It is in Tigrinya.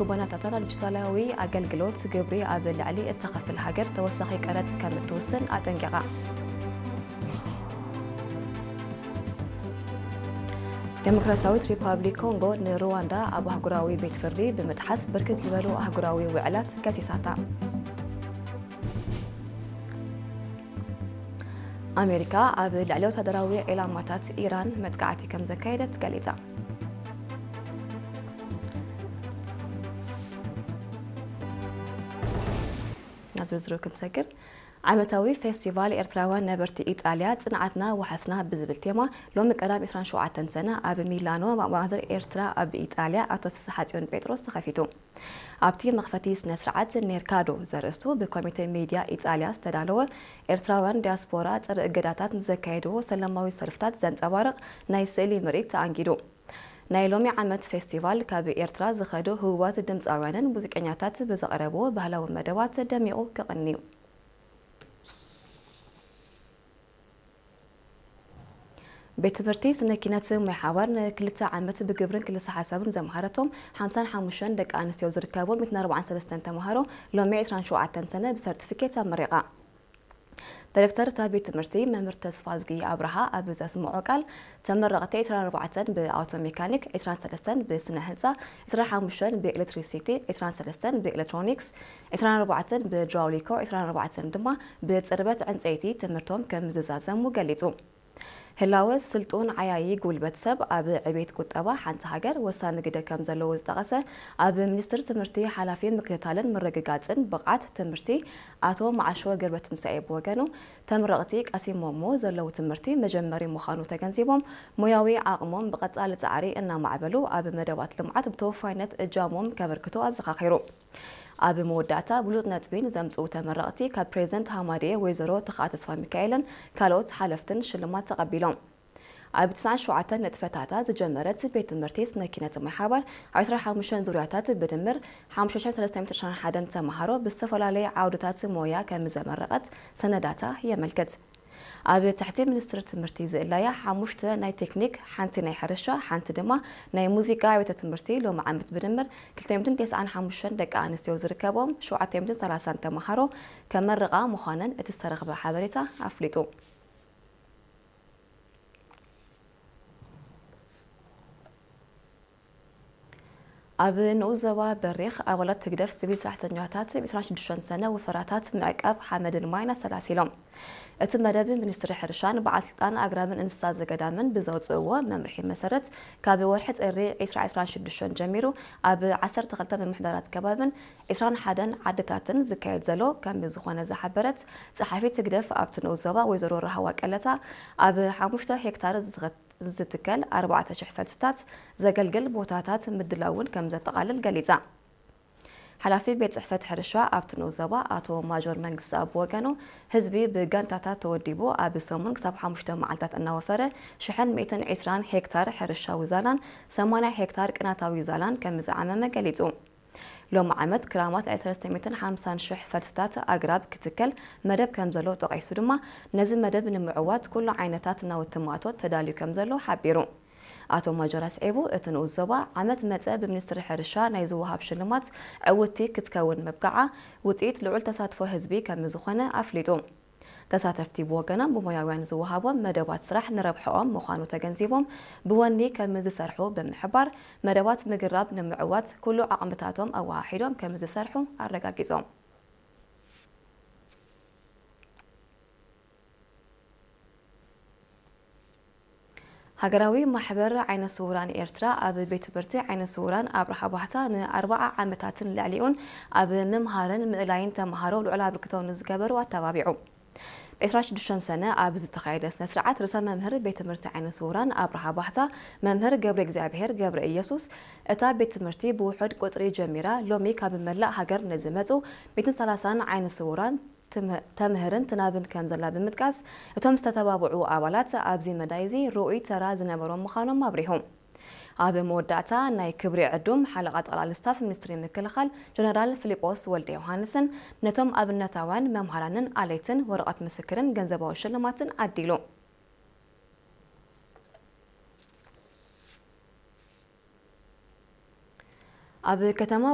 ኩባንያታትን ዲጂታላዊ ኣገልግሎት ግብሪ ኣብ ልዕሊ እተኸፍል ሃገር ተወሳኺ ቀረጽ ከም እትውስን ኣጠንቂቓ። ዴሞክራሲያዊት ሪፓብሊክ ኮንጎ ንሩዋንዳ ኣብ ኣህጉራዊ ቤት ፍርዲ ብምጥሓስ ብርክት ዝበሉ ኣህጉራዊ ውዕላት ከሲሳታ። ኣሜሪካ ኣብ ልዕሊ ወታደራዊ ዒላማታት ኢራን መጥቃዕቲ ከም ዘካየደት ገሊጻ። ናብ ዝርዝሩ ክንሰግር፣ ዓመታዊ ፌስቲቫል ኤርትራውያን ነበርቲ ኢጣልያ ጽንዓትና ወሓስና ብዝብል ቴማ ሎሚ ቀዳም ዕስራን ሸውዓተን ሰነ ኣብ ሚላኖ ማእዘር ኤርትራ ኣብ ኢጣልያ ኣቶ ፍስሓጽዮን ጴጥሮስ ተኸፊቱ። ኣብቲ መኽፈቲ ስነ ስርዓት ኔርካዶ ዘርእስቱ ብኮሚቴ ሜድያ ኢጣልያ ዝተዳለወ ኤርትራውያን ዲያስፖራ ጸረ እገዳታት ንዘካየድዎ ሰላማዊ ሰልፍታት ዘንጸባርቕ ናይ ስእሊ ምርኢት ተኣንጊዱ። ናይ ሎሚ ዓመት ፌስቲቫል ካብ ኤርትራ ዝኸዱ ህቡባት ድምጻውያንን ሙዚቀኛታት ብዘቕረብዎ ባህላዊ መደባት ደሚቑ ክቕንዩ። ቤት ትምህርቲ ስነ ኪነት ሙያ ሓባር ንክልተ ዓመት ብግብርን ክልሰ ሓሳብን ዘምሃረቶም ሓምሳን ሓሙሽተን ደቂ ኣንስትዮ ዝርከቦም ሚእትን ኣርባዓን ሰለስተን ተምሃሮ ሎሚ ዕስራን ሸውዓተን ሰነ ብሰርቲፊኬት ኣመሪቓ። ዳይሬክተር እታ ቤት ትምህርቲ መምህር ተስፋዝጊ ኣብርሃ ኣብ ዘስምዖ ቃል፣ ተመረቕቲ ዕስራን ኣርባዕተን ብኣውቶ ሜካኒክ፣ ዕስራን ሰለስተን ብስነ ህንፃ፣ ዕስራን ሓሙሽተን ብኤሌክትሪሲቲ፣ ዕስራን ሰለስተን ብኤሌክትሮኒክስ፣ ዕስራን ኣርባዕተን ብድራውሊኮ፣ ዕስራን ኣርባዕተን ድማ ብጽርበት ዕንፀይቲ ትምህርቶም ከም ዝዛዘሙ ገሊጹ። ህላወ ስልጡን ዓያዪ ጉልበት ሰብ ኣብ ዕቤት ቁጠባ ሓንቲ ሃገር ወሳኒ ግደ ከም ዘለዎ ዝጠቐሰ ኣብ ሚኒስቴር ትምህርቲ ሓላፊ ምክትታልን ምርግጋጽን ብቕዓት ትምህርቲ ኣቶ መዓሾ ገብረትንሳኤ ብወገኑ፣ ተመረቕቲ ቀሲሞሞ ዘለዉ ትምህርቲ መጀመሪ ምዃኑ ተገንዚቦም፣ ሞያዊ ዓቕሞም ብቐጻሊ ጻዕሪ እናማዕበሉ ኣብ መደባት ልምዓት ብተወፋይነት እጃሞም ከበርክቱ ኣዘኻኺሩ። ኣብ መወዳእታ ብሉጽ ነጥቢን ዘምጽኡ ተመረቕቲ ካብ ፕሬዝደንት ሃማድኤ ወይዘሮ ተኽኣ ተስፋሚካኤልን ካልኦት ሓለፍትን ሽልማት ተቐቢሎም። ኣብ ትስዓን ሸውዓተን ንጥፈታታ ዝጀመረት ቤት ትምህርቲ ስነ ኪነት ማይ ሓባር ኣብ ዕስራን ሓሙሽተን ዙርያታት ብድምር ሓሙሽተ ሽሕን ሰለስተ ሚእትን ዕስራን ሓደን ተምሃሮ ብዝተፈላለየ ዓውድታት ሞያ ከም ዘመረቐት ሰነዳታ የመልክት። ኣብ ትሕቲ ሚኒስትሪ ትምህርቲ ዝእለያ ሓሙሽተ ናይ ቴክኒክ፣ ሓንቲ ናይ ሕርሻ፣ ሓንቲ ድማ ናይ ሙዚቃ ኣብያተ ትምህርቲ ሎሚ ዓመት ብድምር ክልተ ሚእትን ተስዓን ሓሙሽተን ደቂ ኣንስትዮ ዝርከቦም ሸውዓተ ሚእትን ሰላሳን ተምሃሮ ከመርቓ ምዃነን እቲ ዝተረኽበ ሓበሬታ ኣፍሊጡ። ኣብ ንኡስ ዞባ በሪኽ ኣባላት ህግደፍ ሲቪል ሰራሕተኛታት ዕስራን ሽዱሽተን ሰነ ወፈራታት ምዕቃብ ሓመድን ማይን ኣሰላሲሎም። እቲ መደብ ሚኒስትሪ ሕርሻን በዓል ስልጣን ኣግራብን እንስሳ ዘገዳምን ብዘውፅእዎ መምርሒ መሰረት ካብ ወርሒ ጥሪ ዕስራ ዕስራን ሽዱሽተን ጀሚሩ ኣብ ዓሰርተ ክልተ ምምሕዳራት ከባብን ዕስራን ሓደን ዓድታትን ዝካየድ ዘሎ ከም ዝኾነ ዝሓበረት ጸሓፊት ህግደፍ ኣብቲ ንኡስ ዞባ ወይዘሮ ራህዋ ቀለታ ኣብ ሓሙሽተ ሄክታር ዝኸ- ዝትከል ኣርባዕተ ሽሕ ፈልስታት ዘገልግል ቦታታት ምድላውን ከም ዘጠቓልል ገሊጻ። ሓላፊ ቤት ጽሕፈት ሕርሻ ኣብቲ ንኡስ ዞባ ኣቶ ማጆር መንግስቲ ኣብ ወገኑ፣ ህዝቢ ብጋንታታት ተወዲቡ ኣብ ሰሙን ክሳብ ሓሙሽተ መዓልታት እናወፈረ ሽሕን ሚእትን ዕስራን ሄክታር ሕርሻዊ ዛላን ሰማንያ ሄክታር ቅናታዊ ዛላን ከም ዝዓመመ ገሊጹ። ሎሚ ዓመት ክራማት ልዕሊ ሰለስተ ሚእትን ሓምሳን ሽሕ ፈልስታት ኣግራብ ክትከል መደብ ከም ዘሎ ጠቒሱ ድማ፣ ነዚ መደብ ንምዕዋት ኩሉ ዓይነታት ናውቲ ማእቶት ተዳልዩ ከም ዘሎ ሓቢሩ። ኣቶ ማጆር ኣስዒቡ፣ እቲ ንኡስ ዞባ ዓመት መጸ ብሚኒስትሪ ሕርሻ ናይ ዝወሃብ ሽልማት ዕውትቲ ክትከውን ምብቃዓ ውጽኢት ልዑል ተሳትፎ ህዝቢ ከም ዝኾነ ኣፍሊጡ። ተሳተፍቲ ብወገኖም ብሞያውያን ዝወሃቦም መደባት ስራሕ ንረብሕኦም ምዃኑ ተገንዚቦም ብወኒ ከም ዝሰርሑ ብምሕባር፣ መደባት ምግራብ ንምዕዋት ኩሉ ዓቕምታቶም ኣወሃሂዶም ከም ዝሰርሑ ኣረጋጊጾም። ሃገራዊ ማሕበር ዓይነ ስውራን ኤርትራ ኣብ ቤት ትምህርቲ ዓይነ ስውራን ኣብርሃ ባህታ ንኣርባዓ ዓመታትን ልዕሊኡን ኣብ ምምሃርን ምእላይን ተምሃሮ ልዑል ኣበርክቶ ንዝገበሩ ኣተባቢዑ። ዕስራን ሽዱሽተን ሰነ ኣብ ዝተኻየደ ስነ ስርዓት ርእሰ መምህር ቤት ትምህርቲ ዓይነ ስውራን ኣብርሃ ባህታ መምህር ገብረ እግዚኣብሔር ገብረ ኢየሱስ፣ እታ ቤት ትምህርቲ ብውሑድ ቁጽሪ ጀሚራ ሎሚ ካብ መላእ ሃገር ንዝመጹ ሚእትን ሰላሳን ዓይነ ስውራን ትም- ተምህርን ትናብን ከም ዘላ ብምጥቃስ፣ እቶም ዝተተባብዑ ኣባላት ኣብዚ መዳይ እዚ ርኡይ ተራ ዝነበሮም ምዃኖም ኣብሪሁ። ኣብ መወዳእታ ናይ ክብሪ ዕዱም ሓለቓ ጠቕላሊ ስታፍ ሚኒስትሪ ምክልኻል ጀነራል ፊሊጶስ ወልደ ዮሃንስን ነቶም ኣብነታውያን መምሃራንን ኣለይትን ወረቐት ምስክርን ገንዘባዊ ሽልማትን ዓዲሉ። ኣብ ከተማ